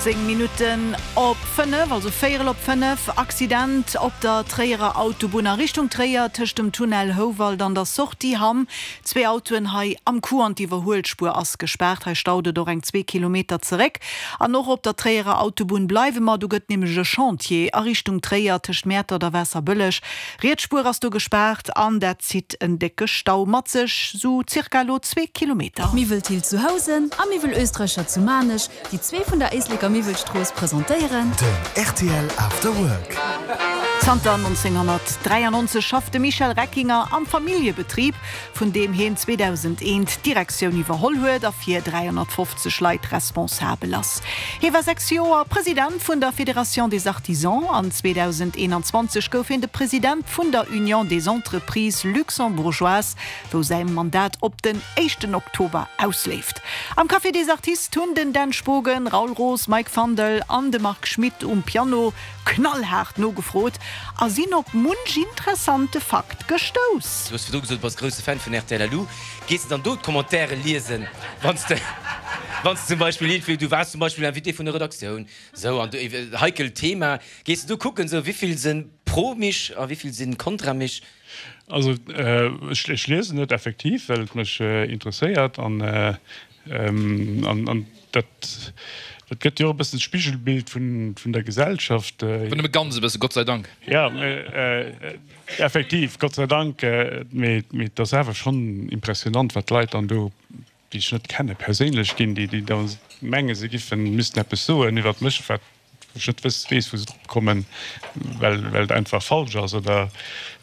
18 Minutten op 5, also véierel op 5, Accident op der Tréierer Autobunn a Richtung Tréier tëscht dem Tunnel Houwald an der Sortie Hamm. Zwee Autoen hei am Coup an d'Iwwerhuelspuer ass gespaart. Hei staut et och eng zwee Kilometer zeréck. An och op der Tréierer Autobunn bleiwe mer, do gëtt nämlech e Chantier a Richtung Tréier tëscht Mäertert a Waasserbëlleg. Riets Spuer ass do gespaart an dat zitt en décke Stau mat sech, sou zirka elo zwee Kilometer. Miwwel Thill zu Housen a Miwwel Oestreicher zu Maarnech, déi zwee vun der Éisleker Miwwelstrooss, presentéieren. Den rtl After Work. Zanter 1993 schafft de Michel Reckinger am Familljebetrib, vun deem hien 2001 d'Direktioun iwwerholl huet a fir 350 Leit responsabel ass. Hie war 6 Joer President vun der Fédération des Artisans an 2021 gouf hien de President vun der Union des Entreprises luxembourgeoises, wou säi Mandat op den éischten Oktober ausleeft. Am Café des Artistes hunn den Dan Spogen, Raoul Roos, Mike Fandel an de Marc Schmitt um Piano knallhaart nogefrot a sinn op munch interessante Fakt gestouss. Du hues virdru gesot, du bass grousse Fan vun rtl Lu. Gees de dann do d'Commentairen liesen, wann s de, wann s de zum Beispill iergendwéi, du waars zum Beispill Invité vun der Redaktioun, sou, an du, heikelt Thema, gees de do kucken, sou, wéivill se pro mich a wéivill si kontra mich? Also ech liesen et effektiv, well et mech interesséiert an dat gëtt jo och e bëssen d'Spigelbild vun der Gesellschaft. Awer nëmme ganz e bëssen, Gott sei Dank. Jo, effektiv, Gott sei Dank, mee et ass awer schonn impressionant, wat d'Leit dann do déi ech net kenne perséinlech ginn, déi da menge se giffen, missten eppes soen iwwert mech, wat wou ech net wëss, weess wou se drop kommen, well well et einfach falsch ass oder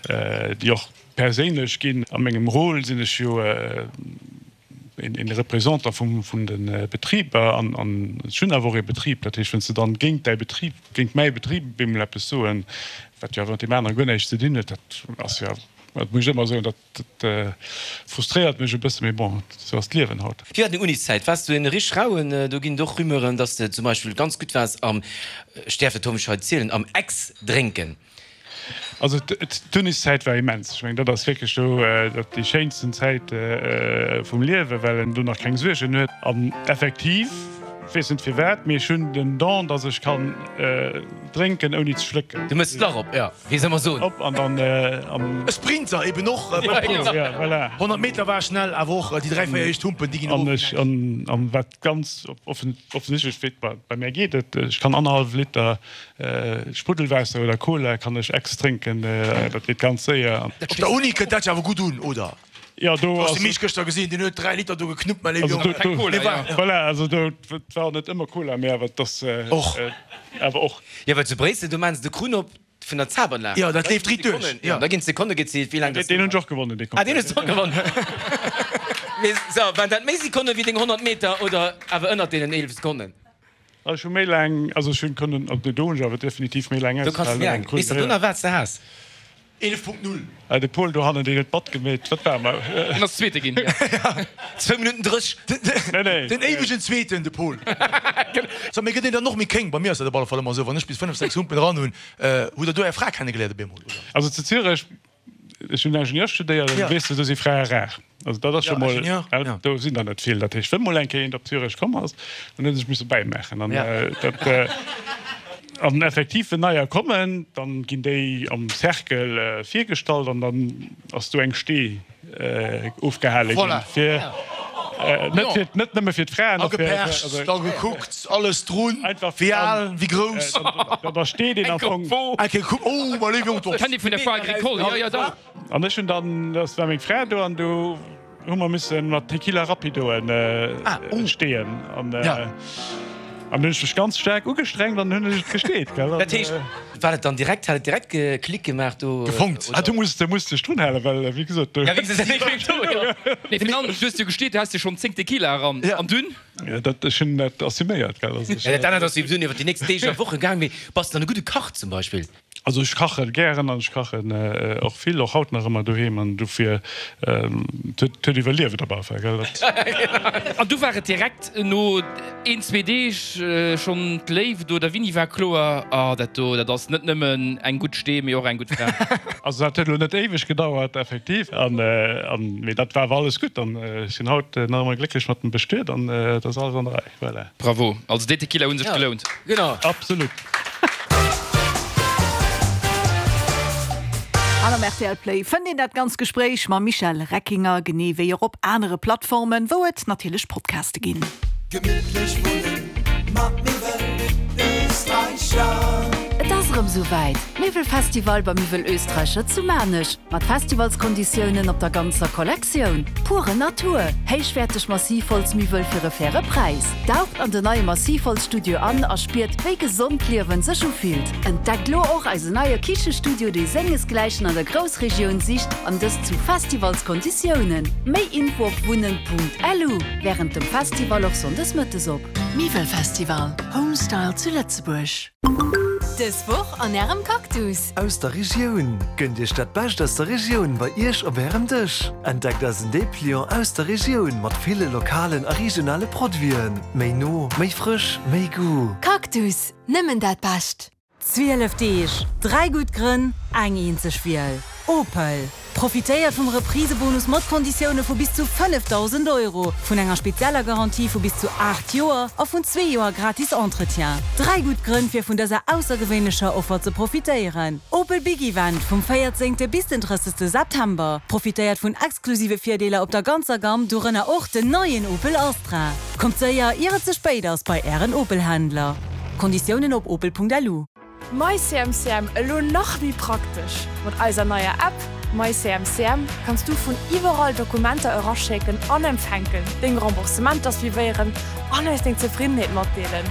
déi och perséinlech ginn. A mengem Rôle sinn ech jo een Représentant vum vun de Betriber an an ech hunn awer och ee Betrib. Dat heescht, wann s de dann géint däi Betrib, géint mäi Betrib op eemol eppes soen, wat jo awer mat deem anere guer näischt ze dinn huet, dat ass jo, dat muss ech ëmmer soen, dat Dat frustréiert mech e bëssen, mee bon, sou ass d'Liewen haut. Wéi war deng Uniszäit? Waars du en rich Rauen? Do ginn et och Rumeuren, dass de zum Beispill ganz gutt waars am, ech däerf dat hoffentlech hei zielen, am Ex-Drénken. Also d'Uniszäit war immens. Ech mengen, dat ass wierklech do dat déi schéinsten Zäit vum Liewen, well en do nach keng Suergen huet. An effektiv, weess net firwat, mee ech hunn den Don, dass ech kann drénken ouni ze schlécken. Du méchs d'Lach op, jo. Wéi soll mer soen? Op an dann am. E Sprinter eben och. Ja, voilà. 100 Meter war schnell, awer och déi 3, 4 éischt Humpen, déi ginn An ech, an, an wat ganz offen, offensichtlech wéi et bei mär geet, et, ech kann annerhallef Liter Spruddelwaasser oder Cola kann ech ex drénken, dat geet ganz séier. Op der Uni kënnt dat jo awer gutt un, oder? Jo, do ass. Hast de Misch gëschter gesinn, deen huet 3 Liter do geknuppt, mäi léiwe Jong. Keng Cola, jo. Voilà, also do, et war och net ëmmer Cola, mee awer et ass. Och. Awer och. Jo, well zu Bréissel, do maachen se de Krunn op vun der Zabanlag. Jo, dat leeft riit duerch. Jo, da ginn d'Sekonne gezielt, wéi laang dat. Deen hunn ech och gewonnen, dee Concours. Ah, deen hues de och gewonnen. Mee so, waren dat méi Sekonne wéi deng 100 Meter oder awer ënnert deenen 11 Sekonnen? Ech hu méi laang, also ech hunn kënnen, also do hunn ech awer definitiv méi laang Do kanns de méi laang. ausgehalen. Weess de do nach, wat s de has? 11.0. Ah, de Paul dohannen, deen huet matgemeet. Wat war mer? Deen ass Zweete ginn, jo. Zwou Minutten 30. Nee, nee. Den éiwegen Zweeten, de Paul. So, mee gëtt een dann och méi kéng? Bei mir ass dat op alle Fall ëmmer esou, wann ech bis 5, 6 Humpen eran hunn. Hutt der do är Fra kennegeléiert op eemol, oder? Also zu Zürech, ech hunn Ingenieur studéiert, an weess de, do si Frae rar. Also dat ass scho mol, do sinn der net vill. Dat heescht, wënn mol eng Kéier eent op Zürech komm ass, dann huet e sech misse bäimaachen. An dat, an effektiv, wënn neier kommen, dann ginn déi am Cercle virgestallt an dann ass do eng Stee ofgehale ginn fir, net fir, net nëmme fir d'Fraen, och fir, Agepercht, da gekuckt, alles drun, wéi al, wéi grouss. Da steet een am Fong. Eng Kéier gekuckt, oh, mäi léiwe Jong, Kennt ee vun der Foire Agricole, jo, jo, da. An ech hunn dann, das war meng Fra do, an do hu mer misse mat Tequila Rapidoen steeën. An an hunn ech mech ganz staark ugestrengt an hunn ech et gesteet, gell. Dat heescht, war dat dann direkt, hat et direkt Klick gemaach do? Gefonkt. Ah, du muss, du muss dech drun halen, well wéi gesot, do. Ja, wéi gesot, do, jo. Nee, virun allem, du hues jo gesteet, du has jo schonn 10 Tequila eran, an dunn? Ja, dat, ech hunn dat assuméiert, gell. Ja, dat anert ass jo dunn iwwer déi nächst Deeg a Woche gaang, mee bass de dann e gudde Kach zum Beispill? Also ech kache gären an ech kachen och vill, och haut nach ëmmer doheem an dofir, et huet iwwerlieft op alle Fall, gell. An du war et direkt no een, zwee Deeg schonn d'Léift oder wéini war kloer, ah dat do, dat ass net nëmmen eng gutt Stee, mee och eng gutt Fra? Also dat huet elo net éiweg gedauert, effektiv, an mee dat war awer alles gutt an ech sinn haut nach ëmmer glécklech mat dem Bestuet an et ass alles an der Rei. Voilà. Bravo, also déi Tequila hunn sech gelount. Genau. Absolut. An am rtl Play fënnt een dat ganz Gespréich mam Michel Reckinger, genee wéi och op anere Plattformen, wou et natierlech Podcaste ginn. Gemittlech wunnen mat Miwwel Österreicher. Et ass erëm sou wäit, Miwwelfestival bei Miwwel Österreicher zu Maarnech mat Festivalskonditiounen op der ganzer Kollektioun. Pure Natur, héichwäerteg Massivholzmiwwel fir e faire Präis. Daucht an den neie Massivholzstudio an a spiert, wéi gesond d'Liewen sech ufillt. Entdeckt lo och eisen neie Kichestudio, dee sengesgläichen an der Groussregioun sicht, an dëst zu Festivalskonditiounen. Méi Info op wunnen.lu. Wärend dem Festival och sonndes mëttes op. Miwwelfestival, Homestyle zu Lëtzebuerg. Dës Woch an Ärem Cactus. Aus der Regioun! Gënnt Iech dat Bescht aus der Regioun bei Iech op Ärem Dësch. Entdeckt eisen Depliant aus der Regioun mat ville lokalen a regionale Produiten. Méi no, méi frësch, méi Goût. Cactus, nëmmen dat Bescht! 12 Deeg, 3 gutt Grënn, eng eenzeg Wiel, Opel. Profitéiert vum Reprisebonus mat Konditioune vu bis zu 5.000 Euro, vun enger spezieller Garantie vu bis zu 8 Joer a vun zwee Joer gratis Entretien. Dräi gutt Grënn fir vun dëser aussergewéinlecher Offer ze profitéieren. Opel Big Event vum 14. Bis den 30. September. Profitéiert vun exklusive Virdeeler op der ganzer Gamm, dorënner och den neien Opel Astra. Kommt séier ier et ze spéit ass bei Ären Opel-Händler. Konditiounen op opel.lu. MyCMCM elo nach méi praktesch! Mat eiser neier App MyCMCM kanns du vun iwwerall Dokumenter eraschécken an empfänken, deng Remboursementer suivéieren an eis deng Zefriddenheet matdeelen.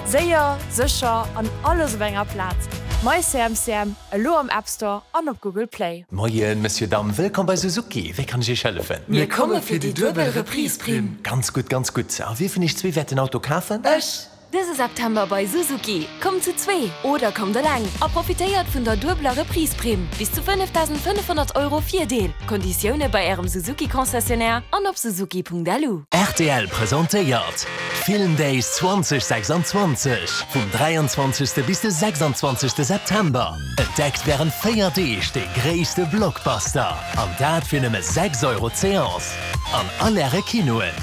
Séier, sécher an alles op enger Plaz. MyCMCM, elo am App Store an op Google Play. Moien, Monsieur, Dame, wëllkomm bei Suzuki. Wéi kann ech Iech hëllefen? Mir komme fir déi duebel Reprise-Primm. Ganz gutt, ganz gutt. A wie vun iech zwee wäert den Auto kafen? Ech! Dëse September bei Suzuki, Kommt zu zwee oder kommt eleng a profitéiert vun der duebeler Reprise-Primm, bis zu 5.500 Euro Virdeel. Konditioune bei Ärem Suzuki-Concessionnaire an op suzuki.lu. Rtl presentéiert d'Film Days 2026 vum 23. Bis de 26. September. Entdeckt wärend 4 Deeg de gréisste Blockbuster an dat fir nëmme 6 Euro d'Seance an all Äre Kinoen.